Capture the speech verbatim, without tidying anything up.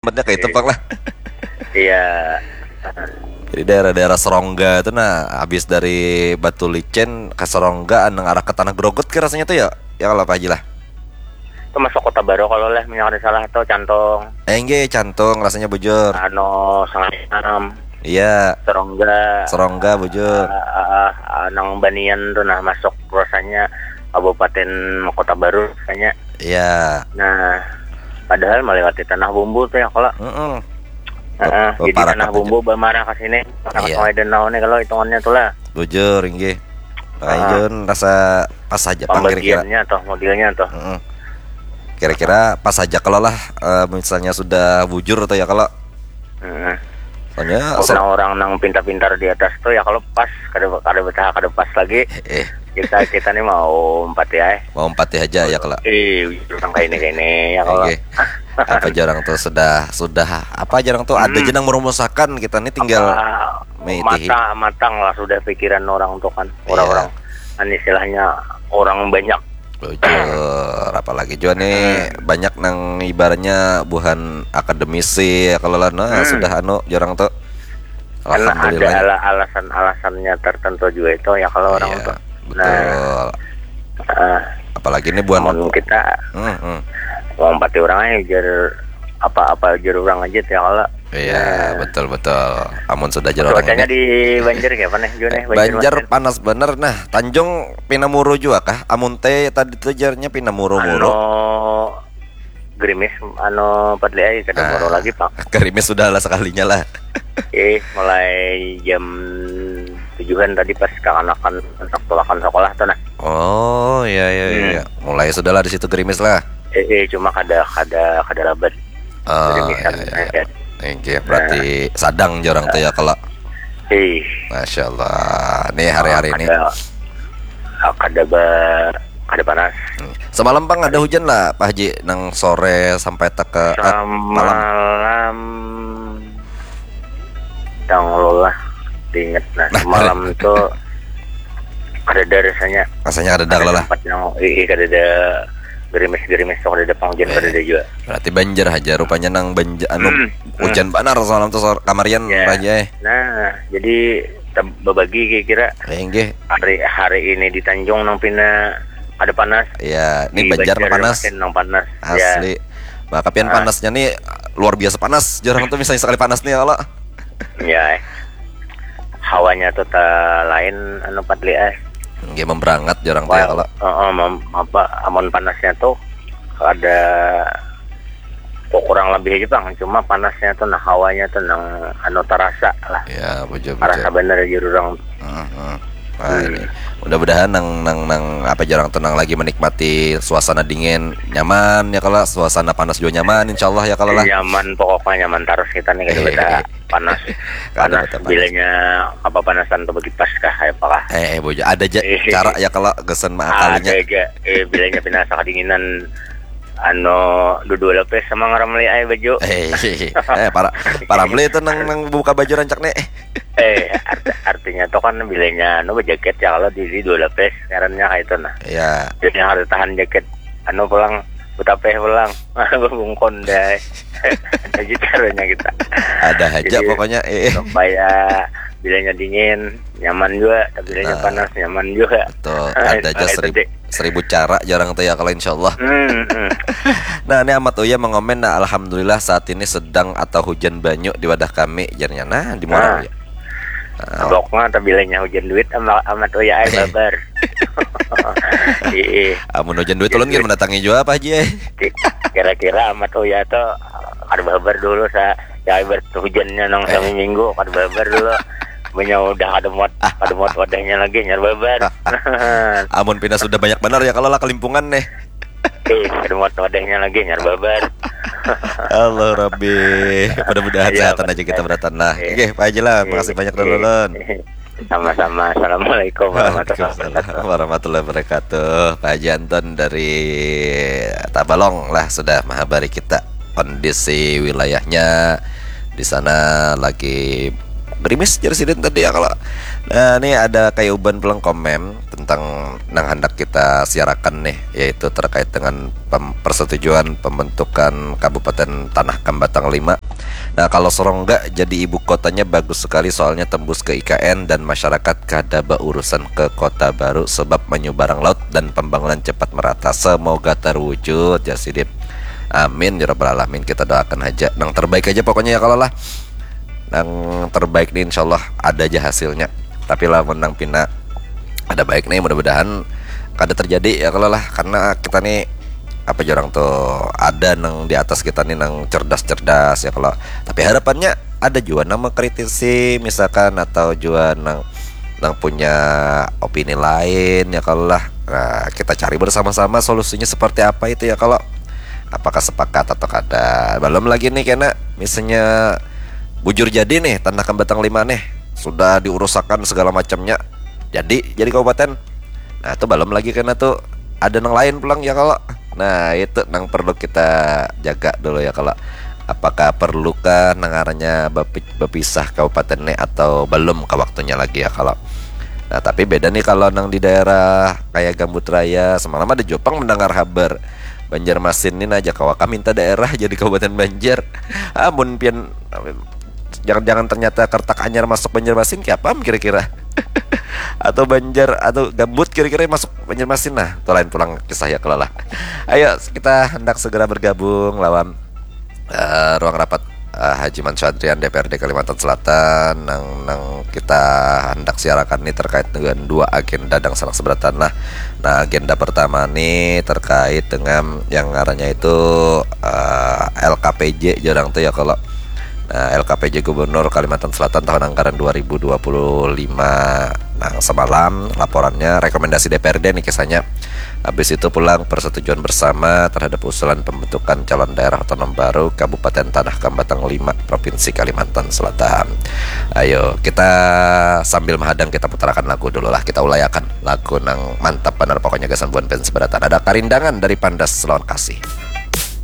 Tempatnya kayak itu, Pak, lah. Iya. Jadi daerah-daerah Serongga itu, nah, habis dari Batu Licin ke Serongga, nang arah ke Tanah Grogot kayak rasanya tuh ya. Ya kalau Pak Haji lah. Itu masuk Kota Baru kalau lah, minyak ada salah tuh, Cantong. Eh, enggak, Cantong rasanya bujur. Anu, Sangainam. Iya. Serongga. Serongga bujur. Ah, ah, ah, nang Banian tuh, nah, masuk rasanya Kabupaten Kota Baru rasanya. Iya. Nah, padahal melewati Tanah Bumbu tuh ya kalau. Heeh. Heeh, oh, jadi Tanah Bumbu bamarah ke sini, marah ke Sungai Danau nih kalau hitungannya tuh lah. Bujur, inggih. Nah, Jun, rasa pas aja pang kira-kira. Pembagiannya toh, modelnya toh. Heeh. Kira-kira pas aja kalau lah, eh, misalnya sudah bujur atau ya kalau. Heeh. Soalnya orang-orang nang pintar-pintar di atas tuh ya kalau pas, kada kada betah, kada pas lagi. Eh, kita kita nih mau empati ya. Mau empati aja ya kalau. Eh, orang kayak ini kayak ini ya kalau. Apa jarang tuh sudah sudah apa jarang tuh ada aja nang merumusakan, kita nih tinggal mata matang lah sudah pikiran orang tuh kan. Orang-orang, kan istilahnya orang banyak. Bujur, apalagi juga nih banyak nang ibaratnya buhan akademisi ya kalau lah, nah, sudah anu jarang tuh. Karena ada alasan-alasannya tertentu juga itu ya kalau orang tuh. Betul. Nah, apalagi ini buhan kita mau empati orang aja jar apa-apa jar orang aja ya kalau. Iya, betul betul. Amun sudah jar orang cuacanya ini di Banjar kayak apa nih, Jun, nih? Banjar panas bener. Nah, Tanjung pina muru juga kah? Amun teh tadi tuh jarnya pina muru-muru. Anu, gerimis, anu, Padli ai, kada muru lagi, Pak. Gerimis sudah lah sekalinya lah. Eh, mulai jam tujuhan tadi pas kakanakan untuk pulakan sekolah tuh, nah. Oh, iya, iya, iya. Mulai sudah lah di situ gerimis lah. Eh, eh, cuma kada kada kada labat. Oh, iya, iya. Inggih, berarti sadang jarang tuh ya kalau. Ih. Masya Allah. Nih hari-hari ini. Kada, kada ba, kada panas. Semalam pang ada hujan lah, Pak Haji, nang sore sampai teka, eh, malam. Semalam tang lah diinget, nah, semalam tuh kada ada rasanya. Rasanya kada ada kalau lah. Tempat yang, ih, kada ada gerimis-gerimis tuh, kada ada pang hujan, kada ada juga. Berarti Banjar aja rupanya nang Banjar anu hujan banar semalam tuh kamarian, Pak Haji, eh. Nah, jadi babagi kira-kira hari hari ini di Tanjung nang pina ada panas. Iya, ini Banjar nang panas. Nang panas. Asli. Maka pian panasnya nih luar biasa panas. Jarang tuh misalnya sekali panas nih kalau. Ya, eh. Hawanya tuh tak lain anu Padli, eh. Nggih, memberangat jarang tuh ya kalau. Heeh, apa, amun panasnya tuh ada kok kurang lebih aja bang, cuma panasnya tuh nah hawanya tuh nang anu terasa lah. Ya, bujur, terasa bener aja orang. Nah, ini mudah-mudahan nang nang nang apa jarang tuh nang lagi menikmati suasana dingin nyaman ya kalau, suasana panas juga nyaman insyaallah ya kalau lah. Nyaman, pokoknya nyaman terus kita nih, kada ada panas. Panas bilanya apa panasan tuh bagi pas kah apa kah? Eh, eh, bujur, ada aja cara ya kalau gesan mengakalinya. Ada aja, eh, bilanya pinasa kedinginan. Anu, dua lapis sama ngaramli ai baju. Eh, para para meli itu nang nang buka baju rancak nih. Eh, arti, artinya tuh kan bilanya anu berjaket ya kalau di dua lapis ngarannya kayak itu nah. Iya. Jadi harus tahan jaket anu pulang, butapeh pulang, bungkon deh. Jadi caranya kita. Ada aja pokoknya, eh. Supaya bilanya dingin, nyaman juga, tapi bilanya panas, nyaman juga. Betul, ada aja seribu cara jarang tuh ya kalau insyaallah. Nah, ini Amat Uya mengomen, nah, alhamdulillah saat ini sedang atau hujan banyu di wadah kami, jarnya. Nah, di Muara Uya. Bloknya atau bilanya hujan duit sama Amat Uya ai babar. Iya. Amun hujan duit ulun gin mendatangi juga apa aja. Kira-kira Amat Uya tuh kada babar dulu sa ya ibarat hujannya nang sami minggu kada babar dulu. Punya udah kada muat kada muat wadahnya lagi nyar babar. Amun pina sudah banyak benar ya kalau lah kelimpungan nih. Eh, kada muat wadahnya lagi nyar babar. Allah Rabbi. Mudah-mudahan sehatan aja kita beratan lah. Oke, Pak Haji lah, makasih banyak dulu Lon. Sama-sama. Assalamualaikum warahmatullahi wabarakatuh. Warahmatullahi wabarakatuh. Pak Haji Anton dari Tabalong lah sudah menghabari kita kondisi wilayahnya di sana lagi Gerimis jar sidin tadi ya kalau. Nah, ini ada kayuban pulang komen tentang nang hendak kita siarakan nih, yaitu terkait dengan pem- persetujuan pembentukan Kabupaten Tanah Kambatang lima. Nah, kalau Serongga jadi ibu kotanya bagus sekali, soalnya tembus ke I K N dan masyarakat kada baurusan ke kota baru sebab menyubarang laut dan pembangunan cepat merata. Semoga terwujud ya sidin. Amin ya rabbal alamin, kita doakan aja nang terbaik aja pokoknya ya kalau lah. Nang terbaik nih insyaallah ada aja hasilnya. Tapi lamun nang pina ada baik nih, mudah-mudahan kada terjadi ya kalau lah, karena kita nih apa jar urang tuh, ada nang di atas kita nih nang cerdas-cerdas ya kalau. Tapi harapannya ada juga nang mengkritisi misalkan, atau juga nang nang punya opini lain ya kalau lah. Nah, kita cari bersama-sama solusinya seperti apa itu ya kalau. Apakah sepakat atau kada? Belum lagi nih kena misalnya bujur jadi nih Tanah Kambatang lima nih, sudah diurusakan segala macamnya, jadi jadi kabupaten. Nah, itu belum lagi kena tuh ada nang lain pulang ya kalau. Nah, itu nang perlu kita jaga dulu ya kalau. Apakah perlukah nang ngarannya bapi- bapisah kabupaten nih atau belum ke waktunya lagi ya kalau. Nah, tapi beda nih kalau nang di daerah kayak Gambut Raya. Semalam ada jopang mendengar habar Banjarmasin nih, nah, aja kawa kah minta daerah jadi Kabupaten Banjar. Amun pian, jangan-jangan ternyata Kertak Anyar masuk Banjarmasin, kayak apa kira-kira? Atau Banjar atau Gambut kira-kira masuk Banjarmasin. Nah, itu lain pulang kisah ya kalau lah. Ayo, kita hendak segera bergabung lawan eh, ruang rapat eh, Haji Mansur Adrian, D P R D Kalimantan Selatan, nang nang kita hendak siarakan ini terkait dengan dua agenda dan sanak seberatan lah. Nah, agenda pertama nih terkait dengan yang ngarannya itu eh, L K P J jar urang tuh ya kalau. Nah, L K P J Gubernur Kalimantan Selatan tahun anggaran dua ribu dua puluh lima. Nah, semalam laporannya, rekomendasi D P R D nih kisahnya. Habis itu pulang persetujuan bersama terhadap usulan pembentukan calon daerah otonom baru Kabupaten Tanah Kambatang lima, Provinsi Kalimantan Selatan. Ayo, kita sambil menghadang, kita putarakan lagu dulu lah, kita ulayakan lagu nang mantap benar pokoknya gasan buan fans seberatan. Ada Karindangan dari Pandas lawan Kasih.